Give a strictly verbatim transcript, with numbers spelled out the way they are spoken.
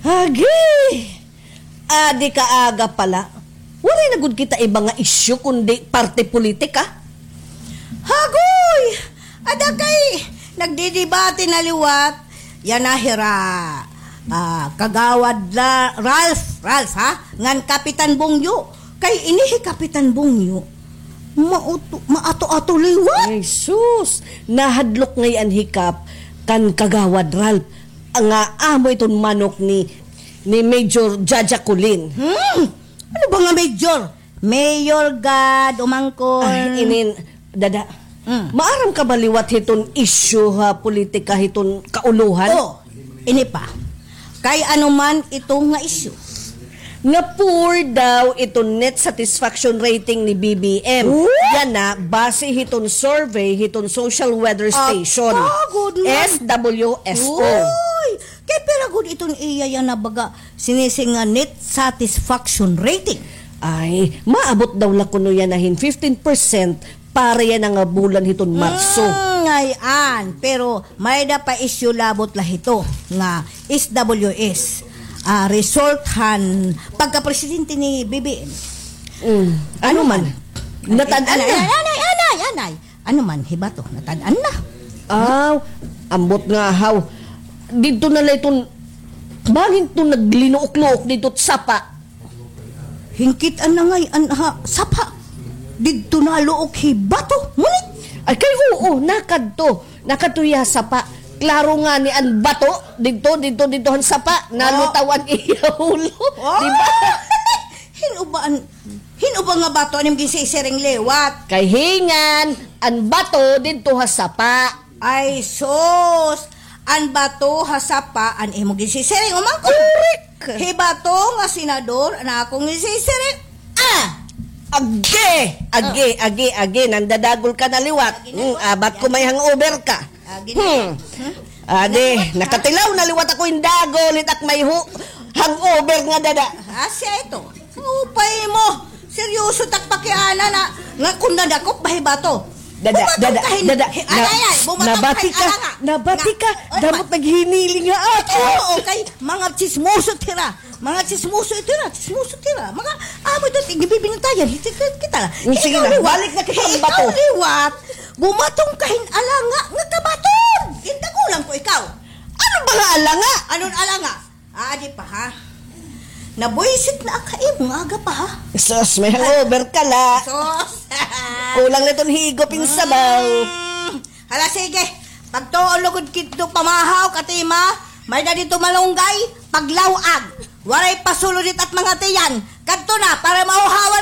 Agi! Adi ka aga pala. Waray na gud kita iba nga isyu kundi parte politika. Hagoy! Ada kay nagdidebate na liwat. Yana hira, ah, Kagawad La-, Ralph, Ralph, ha? Ngan Kapitan Bungyo. Kay ini hi Kapitan Bungyo, mauto-, maato-ato liwat. Ay, sus! Nahadlok ngay-an hi Kap kan Kagawad Ralph nga amo iton manok ni, ni Major Jaja Colin. Hmm? Ano ba nga Major? Mayor gad, umangkon. Ay, inin, dada. Mm. Maaram ka ba liwat hiton isyu ha politika hiton kauluhan? Oh, ini pa. Kay ano man ito nga isyu? Nga poor daw iton net satisfaction rating ni B B M. Oh? Yana, base hiton survey hiton Social Weather Station. Ato gud man. S W S O. Uy! Kay pira gud iton iya yana baga sinisi nga net satisfaction rating? Ay, maabot daw la kuno yana hin fifteen percent para yana nga bulan hiton Marso. Mm, ay-an. Pero may-ada pa isyu labot la hito nga S W S, ah, result han pagkapresidente ni B B M. Mm. Ano man? Natad-an na. Anay, anay, anay, anay. Ano man, hi Bato, natad-an na. Aw, ambot nga haw. Didto na la iton, bangin to naglinuok-luok didto sapa. Hingkit-an na ngay-an ha sapa. Didto na luok hi Bato, ngunit. Ay, kay oo, nakadto. Nakadto hiya ha sapa. Klaro ngani an Bato, didto, didto, didto han sapa. Nalutaw an iya ulo. Oh. Di ba? Hin-o ba an Hin-o ba nga Bato an imo ginsisiring liwat? Kay hingan, an Bato didto ha sapa. Ay, sus! An Bato ha sapa an imo ginsisiring. Umangkon. Correct! Hi Bato nga senador an akon ginsisiring. Ah! Agi! Agi, agi, agi. Nandadagol ka na liwat. Agi na. Hmm, abat ko may hangover ka. Agi na. Hmm. Hmm? Adi, nakatilaw na liwat ako hin dagol, it ak may hu-, hangover nga dada. Asya ito. Upay mo. Seryoso tak pakiana na. Nga kun nadakop ba hi Bato. Dada, dada, dada. Hi-, ay, ay, ay, bumatok nabati ka hin alanga. Nabati ka. Nga, ano man? Dapat naghiniling nga ako. Oo, kay mga tsismoso tira. Mga tsismoso ito na, tsismoso tira. Mga amo ito, tigibibintayan. Kita la. Sige na, balik na kita hin Bato. Ikaw liwat. Bumaton ka hin alanga nga kabaton. Gindagulan ko ikaw. Ano ba nga alanga? Anon alanga? Ah, di pa, ha? Nabuisit na ka imo nga aga pa, ha? Sus, may hangover ka la. Sus. Kulang na iton higop hin sabaw. Mm. Hala, sige. Pagtuon lugod kidto pamahaw, katima, may-ada didto malunggay, paglaw-ag. Waray pasulod it at mga tiyan. Kadto na, para mauhawan